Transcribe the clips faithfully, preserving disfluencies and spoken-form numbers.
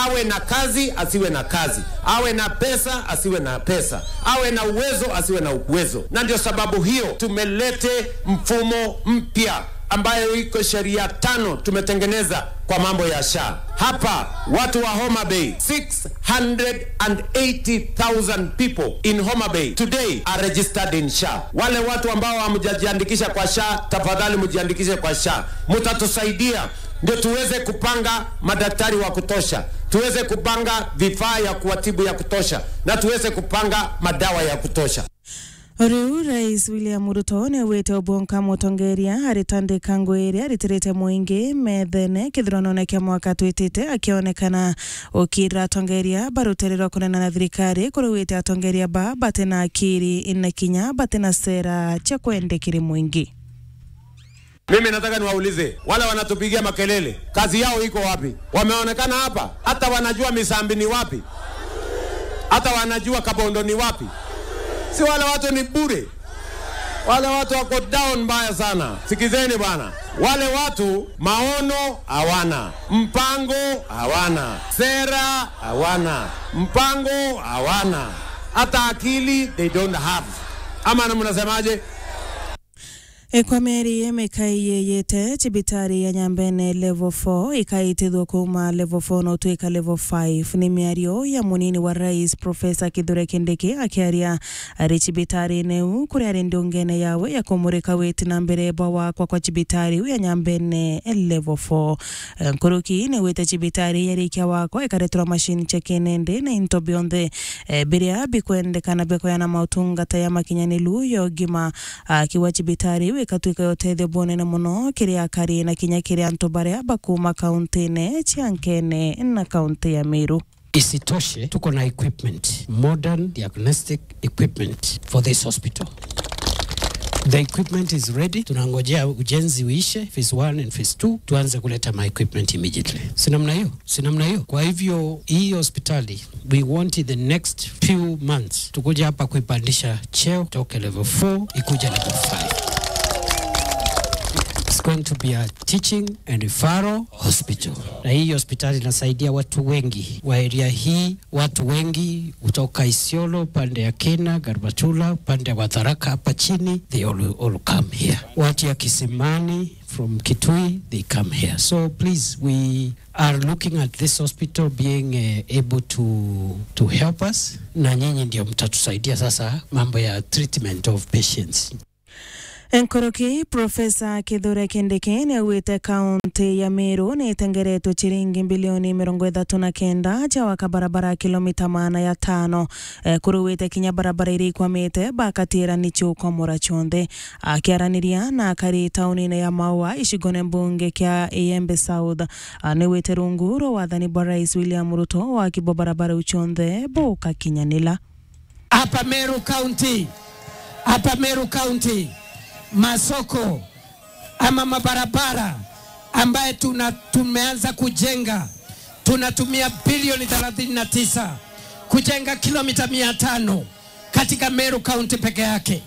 Awe na kazi, asiwe na kazi, awe na pesa, asiwe na pesa, awe na uwezo, asiwe na uwezo. Na ndio sababu hiyo tumelete mfumo mpya ambayo iko sheria tano tumetengeneza kwa mambo ya SHA. Hapa watu wa Homa Bay, six hundred and eighty thousand people in Homa Bay today are registered in SHA. Wale watu ambao hamjajiandikisha kwa SHA, tafadhali mjiandikishe kwa SHA. Mtatusaidia ndio tuweze kupanga madaktari wa kutosha, tuweze kupanga vifaa ya kuwatibu ya kutosha, na tuweze kupanga madawa ya kutosha. Riu Rais William Ruto niaugite ubonka mutongeria aritandika ngui iria aritirite muingi methene kithuranoone kia mwaka twitite, akionekana ukira atongeria ba rutere rwa kunena na thirikari, kuri wite atongeria ba bati na akiri na kinya bati na sera cia kwendekiri muingi. Mimi nataka niwaulize, wale wanatupigia makelele, kazi yao iko wapi? Wameonekana hapa? Hata wanajua Misambi ni wapi? Hata wanajua Kabondo ni wapi? Si wale watu ni bure? Wale watu wako down mbaya sana. Sikizeni bwana. Wale watu maono hawana, mpango hawana, sera hawana, mpango hawana. Hata akili they don't have. Ama na mnasemaje? E, kwa mieri ii mikai yiyite, cibitari ya Nyambene level four ikaitithua kuuma level four na utwika level five. Ni miario ya munini wa rais, Professor Kithure Kindiki, akiaria ari cibitarine iu, kuria ari ndungene yawe ya kumurika witi na mbere bwa wakwa kwa cibitari iu ya Nyambene level four. E, nkuruki ni wite cibitari yarikia wakwa ikareterwa machine cia kinende na into bionthe, e, biria bikwendekana bia kuyana mautungata ya makinyaniru ya ugima. Akiuga cibitari iu ikatwika ya utethio bunene muno kiri akari na kinya kiri antu baria bakuuma kauntine cia Nkene na kaunti ya Meru. Isitoshe, tuko na equipment, modern diagnostic equipment for this hospital. The equipment is ready. Tunangojea ujenzi uishe, phase one and phase two, tuanze kuleta my equipment immediately. Si namna hiyo? Si namna hiyo? Kwa hivyo, hii hospitali, we want in the next few months tukuja hapa kuipandisha cheo, toke level four ikuje level five. It's going to be a teaching and referral hospital. Na hii hospitali inasaidia watu wengi wa area hii, watu wengi kutoka Isiolo, pande ya Kina, Garbatula, pande wa Tharaka hapa chini, they all, all come here. Watu ya Kisimani, from Kitui, they come here. So please, we are looking at this hospital being, uh, able to, to help us. Na nyinyi ndio mtatusaidia sasa mambo ya treatment of patients. Nkuruki, Professor Kithure Kindiki niaugite kaunti ya Meru ni itengeretwe ciringi mbilioni mirongo ithatu na kenda cia waka barabara ya kilomita maana ya tano. E, kuruwite kinya barabara iria ikwamite, bakatiira ni ciukomora cionthe. Akiaraniria na akari taunine ya Maua, icigone mbunge kia Iembe South, a, ni wite rungu rwa wathani bwa Rais William Ruto, waki bwa barabara iu cionthe bukakinyanila. Hapa Meru County, hapa Meru County, masoko ama mabarabara ambaye tuna-, tumeanza kujenga, tunatumia bilioni thelathini na tisa kujenga kilomita mia tano katika Meru County peke yake.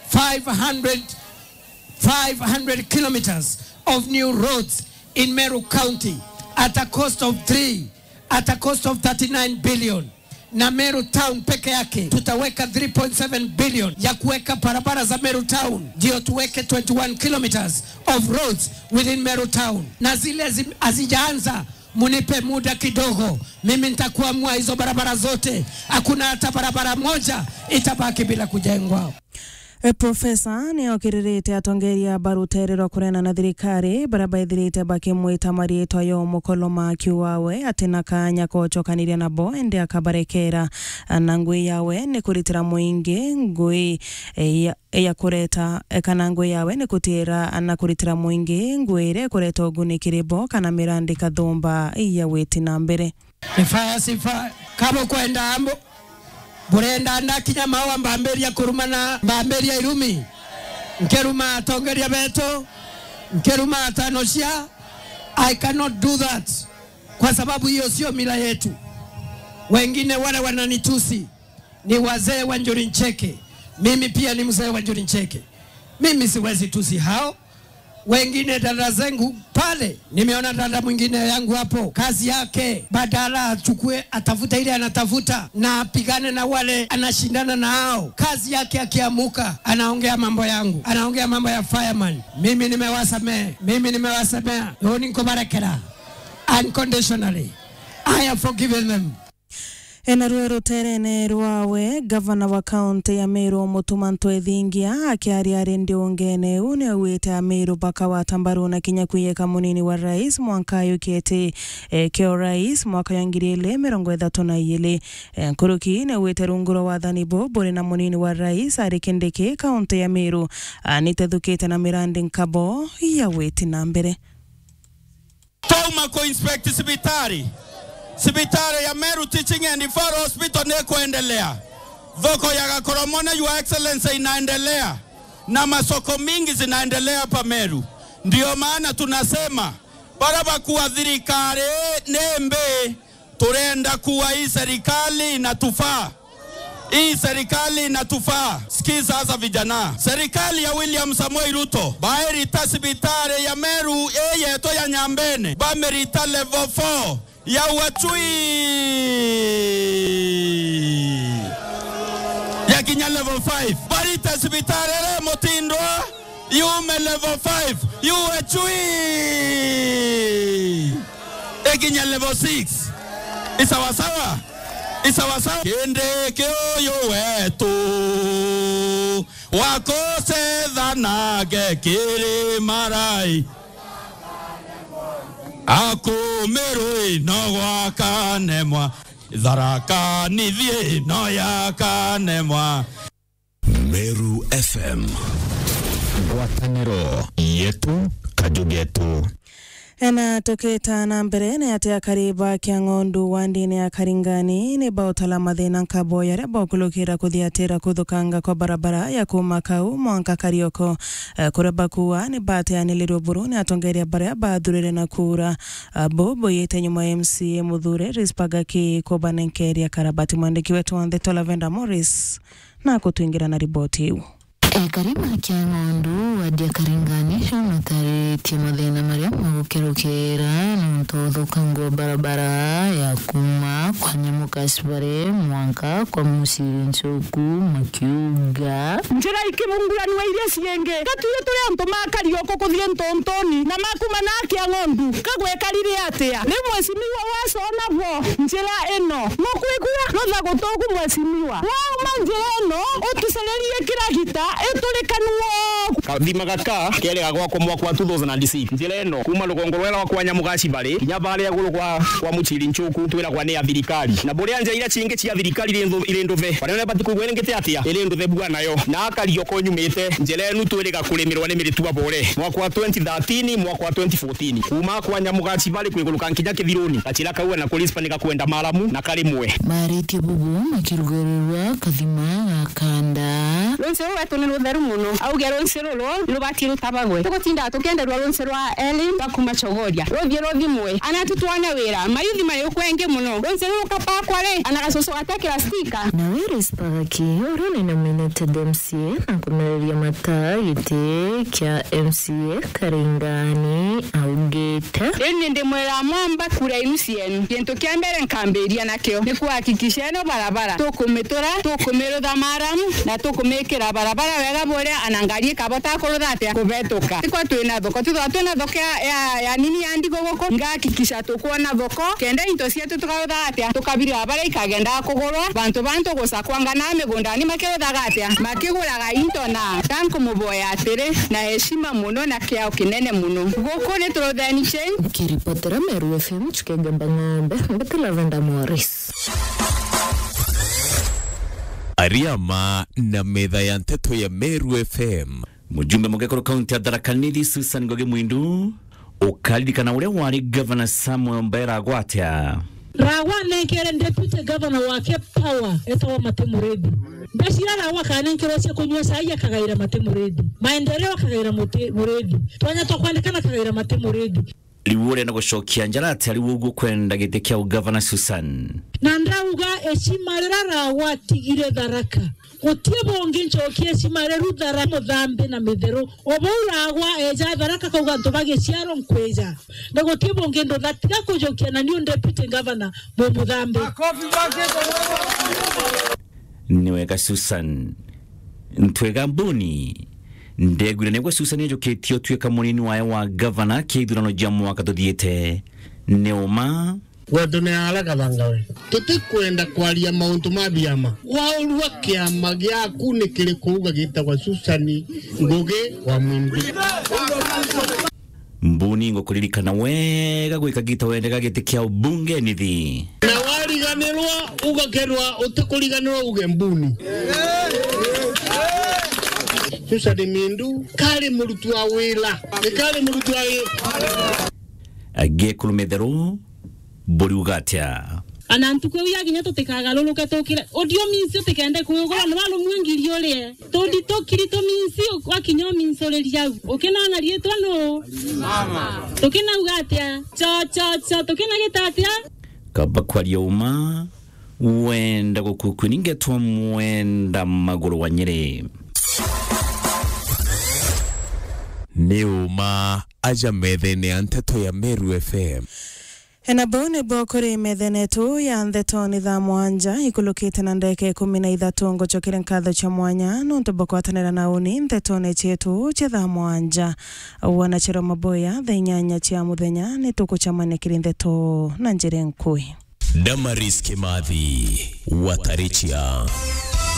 Five hundred, five hundred kilometers of new roads in Meru County at a cost of three, at a cost of thirty-nine billion. Na Meru Town peke yake tutaweka three point seven billion ya kuweka barabara za Meru Town, ndio tuweke twenty-one kilometers of roads within Meru Town. Na zile zi-, hazijaanza, munipe muda kidogo, mimi nitakuamua hizo barabara zote. Hakuna hata barabara moja itabaki bila kujengwa. E, Profesa ni okiririte atongeria ba rutere rwa kurena na thirikari, baria baithirite bakimwita mariitwa ya umukoloma, akiuga we ati na kanya ka gucokaniria nabo, indi akabarekera. Na ngui yawe ni kuritira muingi ngui, e, ya, ya kureta, e, kana ngui yawe ni kutira na kuritira muingi ngui iria ikureta uguni kiri bo, kana mirandi kathumba ya witi na mbere. Ni fire, si fire. Kabo kwenda ambo. Burenda ndakinya Maua mbambiria kuruma na mbambiria irumi. Nkiruma atongeria betu, nkiruma atano cia. I cannot do that. Kwa sababu hiyo sio mila yetu. Wengine wale wananitusi ni wazee wa Njuri Ncheke. Mimi pia ni mzee wa Njuri Ncheke. Mimi siwezi tusi hao. Wengine dada zangu pale, nimeona dada mwingine yangu hapo, kazi yake, badala achukue, atafute ile anatafuta, na apigane na wale anashindana nao. Kazi yake akiamuka, anaongea mambo yangu, anaongea mambo ya fireman. Mimi nimewasamehe, mimi nimewasamehe. Uuni nkubarekera unconditionally. I have forgiven them. Ena ruo ruterene rwawe, gavana wa kaunti ya Meru Mutuma M'Ethingia akiaria ari ndiungene iu niaugite Ameru bakawata mbaru na kinya kwiyika munini wa rais mwanka ayukite, eh, kio rais mwaka ya ngiri ili mirongo ithatu na iili. Eh, nkuruki niaugite rungu rwa wathani bu buri na munini wa rais ari Kindiki, kaunti ya Meru, ah, nitethukite na mirandi nkabo ya witi na mbere. Twauma ku inspect cibitari. Cibitari ya Meru Teaching and Referral Hospital ni kuendelea. Thoko ya Gakoromone, Your Excellency, inaendelea. Na masoko mingi zinaendelea hapa Meru. Ndio maana tunasema, bara bakua thirikari ni mbi, turenda kuwa hii serikali inatufaa. Hii serikali inatufaa. Sikiza sasa vijana. Serikali ya William Samoei Ruto, bairita cibitari ya Meru ii yetu ya Nyambene, bamirita level four ya Uachui. Ya kinya level five. Barita cibitari iri Mutindwa, yume level five, yuwe chui. Ikinya level six. Isawasawa? Isawasawa? Kindiki uyu wetu, wa kucetha nake kiri marai. Akumirwi no gwakanemwa, Tharaka Nithi no yakanemwa. Meru F M. Ngwataniro yetu, kaju getu. Ena tukita na mbere, ni ati akari ba Kiang'ondu wa ndini ya Karingani ni bautala mathina nkabo yaria baukulukira kuthiatira kuthukanga kwa barabara ya kuma Kau mwanka Karioko. Eh, kuria bakua ni bateanilirwe buru ni atongeria baria bathurire na kura. Ah, bo boyite nyuma ya M C A muthure Rispa Gaki kubanenkeria karabati. Mwandiki wetu wa ndeto Lavenda Morris na kutwingira na riboti iu. Ekari ba Kiang'ondu, wadi ya Karingani, bamataritie mathina maria magukerukira nontu wa uthukangu wa barabara ya kuma kwa Nyamuka Cibari mwanka kwa Muciri Nchuku makiuga, njira ikibunguranua iria ciingi, gatuire turi antu ma Karioko kuthii Ntuntuni na makuma na Kiang'ondu, kagwekarire atia? Riu mwecimiwa wacona bo njira ino, nukwigua? Rutha gutuku mwecimiwa. Wauma njira ino, utucererie kiragita, iturikanua. Kathima gaka kerega gwakwa mwaka wa two thousand and six. Njira ino, kuma rugongo rwera rwa kwa Nyamuga Cibari, kinya baria iguru kwa, kwa Muciri Nchuku, twiragwa ni ya thirikari. Na buria nja iria cingi cia thirikari iri nthu-, iri nduthe. Baria bati kugwa iringite atia? Iri nduthe bua nayo. Na Karioko nyumite, njira inu twiriga kurimirwa ni miritu abore. Mwaka wa twenty thirteen, mwaka wa twenty fourteen. Kuma kwa Nyamuga Cibari kwiguruka nkinya Kithiruni, gachira kau na Kurispa ni gakwenda maramu na karimwe. Maritie bubu makirugarirwa kathima ga kanda. Runsi ruru rwetu ni rutheru muno. Auge runsi ruru ni rubatie rutabagwe. Tugutindaga tukienderwa runsi rwa Elin rwa kuma Chogoria. Ruthie ruthimwe. Ana tutwane wira. Mayuthi mari ukwengi muno. Runsi ruru kapakwa ri, ana gacucu gatekira stika. Nawe Rispa Gaki, uria ni nominated M C A na kumereria mata giti kia M C A Karingani, augite, riu ni ndimwira mwamba kura inu cienu. Gintu kia mbere nkambiria nakio ni kuhakikisha ino barabara tukumitura, tukumirutha maramu, na tukumikira barabara wega buria ana ngari ikabota kurutha atia, kubetuka. Tikwa twina thoko, tithwa twina thoko ya, ya, ya nini ya ndigo guku, ngahakikisha tukwona thoko, kenda into cietu tukarutha atia, tukabirira baria ikagendaga kugurwa, bantu bantu gucakwanga na migundani makiruthaga atia, makiguraga into. Na ta nkumuboya atiri, na heshima muno na kiao kinene muno, guku ni turutheni change. Kiripotera Meru F M, Chukegamba Ng'ombe, mbete Lavenda Morris. Ariama na metha ya nteto ya Meru F M. Mujumbe mugekuru kaunti ya Tharaka Nithi Susan Ngugi Mwindu ukaririkana uria wari Gavana Samuel Mbera agwatia. Ragwa nenkere deputy governor wake power etawa Mate Murithi. Ndacira Ragwa akanenkerwa cia kunyua cai akagaira Mate Murithi. Maendeleo akagaira Mate Murithi. Twanya twa kwandikana akagaira Mate Murithi. Riu urenda gucokia njara atia riu uguo kwenda giti kia ugavana Susan? Na ndauga ecima rira Ragwa atigire Tharaka, Guti bungi ncokie cimare ruthara muthambi na mitheru. O bau ragwa eja Tharaka kauga antu bagiciaro nkwija. Na guti bungi ndutha tiga kujukia na niu deputy governor mumuthambi. Ni wega Susan. Ntwega Mbuni. Ndegwire nigwe Susan ejukitie utuika munini wae wa gavana kia ithurano jia mwaka tuthiite. Ni uma. Gwetu ni ara Kathangawe. Tutikwenda kwaria mauntu ma biama. Waurua kiama giaku ni kiriku uga gitagwa Susan Ngugi wa Mwimbi? Mbuni, ngukuririkana wega gwi kagita wendega giti kia ubunge nithi. Na wariganirwa, ugakerwa utikuriganirwa uge Mbuni. Susan Mindu kari murutu wa wira. Ni kari murutu wa wira. Agekuru metheru, buriuga atia? Ana ntuku iu yakinya tutikagaruruke tukire. Audio means utikende kwigura ni warumue ngiri urie. Tundi tukiri tu means wakinya u means uriria au. Ukinona riitwa nu? Mama. Tukinauga atia? Cho, cho, cho. Tukinagita atia? Kaba kwaria uma, wenda gukukuni ngetwa mwenda maguru wa Nyeri. Ni uma aja methene ya nteto ya Meru F M. Ena bau nibo kuri methene yetu ya ndeto ni thaa mwanja ikulukite na ndeka ikumi na ithatu. Ngucokere nkatho cia mwanya nontu bwa kwatanira na uni ntetone cietu cia thaa mwanja. Wanachero Maboya, thaa inyanya cia muthenya nitukucamania kiri ndeto na njira nkui. Damaris Kimathi, Watarichia.